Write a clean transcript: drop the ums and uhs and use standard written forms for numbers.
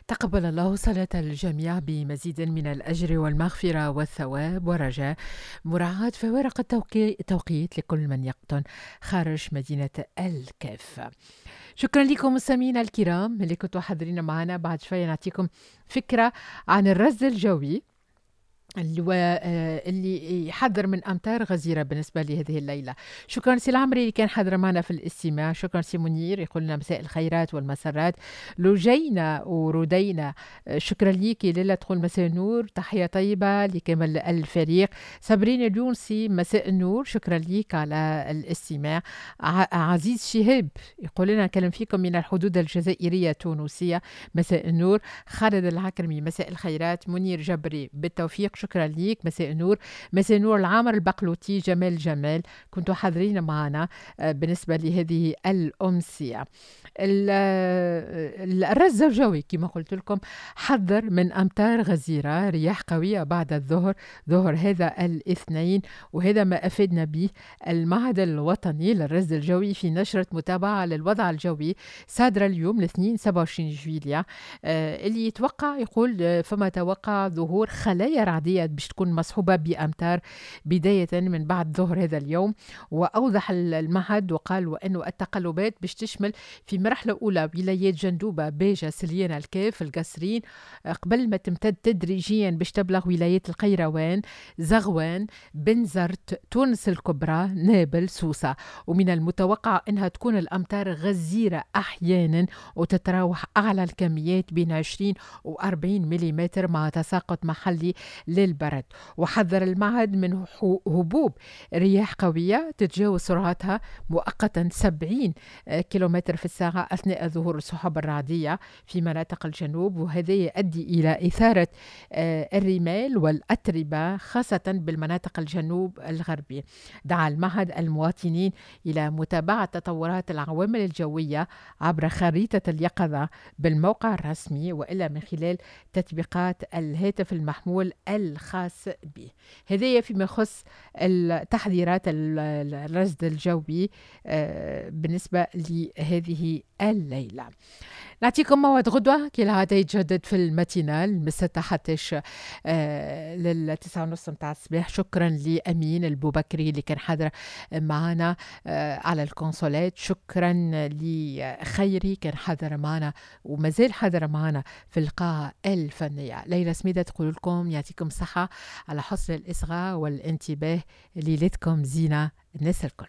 تقبل الله صلاة الجميع بمزيد من الأجر والمغفرة والثواب، ورجاء مراعاة فوارق التوقيت لكل من يقطن خارج مدينة الكاف. شكرا لكم مستمعينا الكرام اللي كنتوا حاضرين معنا. بعد شوية نعطيكم فكرة عن الرصد الجوي اللي يحذر من أمطار غزيرة بالنسبة لهذه الليلة. شكرا سي العمري اللي كان حاضر معنا في الاستماع. شكرا سي منير يقول لنا مساء الخيرات والمسرات، لجينا ورودينا. شكرا ليك ليلى تقول مساء النور، تحية طيبة لكامل الفريق. صابرين اليونسي مساء النور، شكرا ليك على الاستماع. عزيز شهاب يقول لنا نكلم فيكم من الحدود الجزائرية التونسية، مساء النور. خالد العكرمي مساء الخيرات. منير جبري بالتوفيق، شكرا ليك، مساء النور. مساء النور العامر البقلوتي، جمال جمال، كنتوا حاضرين معنا بالنسبة لهذه الأمسية. الرصد الجوي كما قلت لكم حذر من أمطار غزيرة، رياح قوية بعد الظهر، ظهر هذا الاثنين، وهذا ما أفادنا به المعهد الوطني للرصد الجوي في نشرة متابعة للوضع الجوي صادرة اليوم الاثنين 27 جويلية، اللي يتوقع يقول فما توقع ظهور خلايا رعدية باش تكون مصحوبة بأمطار بداية من بعد ظهر هذا اليوم. وأوضح المعهد وقال وأنه التقلبات باش تشمل في مرحلة أولى ولايات جندوبة، باجة، سليانة، الكاف، القصرين، قبل ما تمتد تدريجيا باش تبلغ ولايات القيروان، زغوان، بنزرت، تونس الكبرى، نابل، سوسة. ومن المتوقع أنها تكون الأمطار غزيرة أحيانا وتتراوح أعلى الكميات بين 20 و 40 ملم مع تساقط محلي للبرد. وحذر المعهد من هبوب رياح قوية تتجاوز سرعتها مؤقتا 70 كيلومتر في الساعة أثناء ظهور السحب الرعدية في مناطق الجنوب، وهذا يؤدي إلى إثارة الرمال والأتربة خاصة بالمناطق الجنوب الغربي. دعا المعهد المواطنين إلى متابعة تطورات العوامل الجوية عبر خريطة اليقظة بالموقع الرسمي وإلا من خلال تطبيقات الهاتف المحمول الخاص به. هذا فيما يخص التحذيرات الرصد الجوي بالنسبة لهذه الليلة. نعطيكم موعد غدوة كالعادة يتجدد في ال matinale من 6 حتى لل9:30 متاع الصباح. شكرا لأمين البوبكري اللي كان حاضر معنا على الكونسولات، شكرا لخيري كان حاضر معنا ومازال حاضر معنا في القاعة الفنية. ليلى سميدة تقول لكم يعطيكم الصحة على حسن الإصغاء والانتباه، ليلتكم زينة الناس الكل.